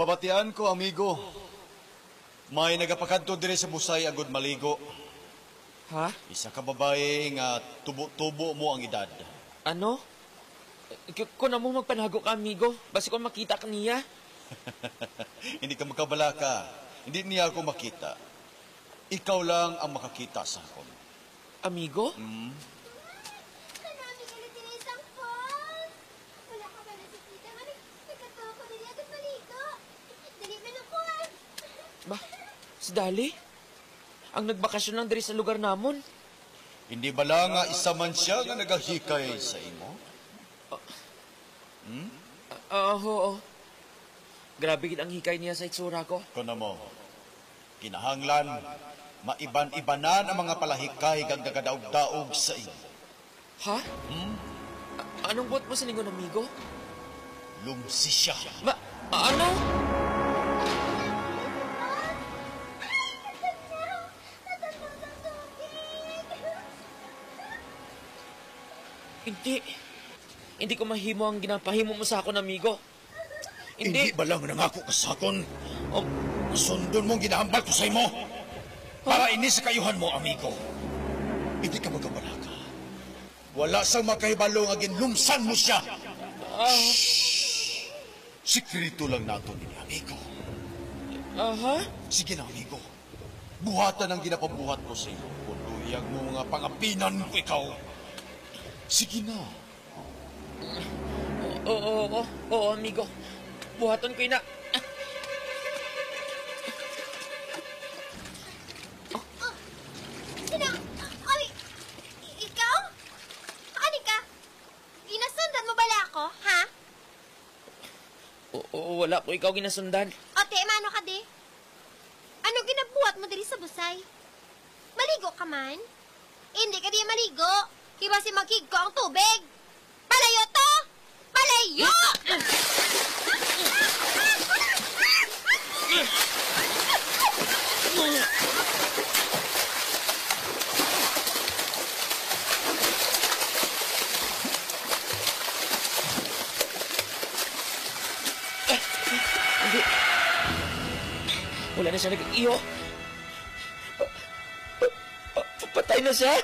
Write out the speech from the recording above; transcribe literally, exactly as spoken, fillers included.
Pabatian ko, amigo. May nagapakadto diri sa Busay agud maligo. Ha? Isa ka babayi nga tubo-tubo mo ang edad. Ano? K-, kun amo, magpanago ka, amigo. Basi ko makita ka niya. Hindi ka magkabalaka. Hindi niya ako makita. Ikaw lang ang makakita sa akon. Amigo? Hmm? Ano, amigo, na tinisang Paul? Wala ka ba nakikita nga nag-, nagkatuwa ko diri agad maligo? Dali, manukuan. Ba, si Dali? Ang nagbakasyon lang diri sa lugar namon. Hindi bala nga isa man siya nga nagahikay sa imo? Hmm? Ah, ah, oo. Grabe gid ang hikay niya sa itsura ko. Kuno mo, kinahanglan maiban-ibanan ang mga palahikay kag nagadaog-daog sa imo. Ha? Hmm? A-, anong buot mo silingon, amigo? Lumsi siya. Ma-, ano? Hindi. Hindi ko mahimo ang ginapahimo mo sa akon, amigo. Hindi. Hindi ba lang nangako ka sa akon? Oh. Sundon mo ang ginahambal ko sa imo. Para ini sa kaayuhan mo, amigo. Hindi ka magkabalaka. Wala sang makahibalo nga ginlumsan mo siya. Ah. Shh! Sikreto lang naton ini, amigo. Aha. Sige na, amigo. Buhatan ang ginapabuhat ko sa imo. Kung luyag mo nga pangapinan ko ikaw. Sige na. Oo, oo, oo, oo, amigo. Buhaton ko ina. Sina-, ay, i-, ikaw? Ani ka? Ginasundan mo bala ako, ha? Oo, wala ko ikaw ginasundan. O, te, mano ka, di? Ano ginabuhat mo diri sa Busay? Maligo ka man? Hindi ka di maligo. Kay basi maghigko ang tubig. Palayo to! Palayo! Hindi. Wala na siya nag-iyo. Pa-, pa-, pa-, patay na siya.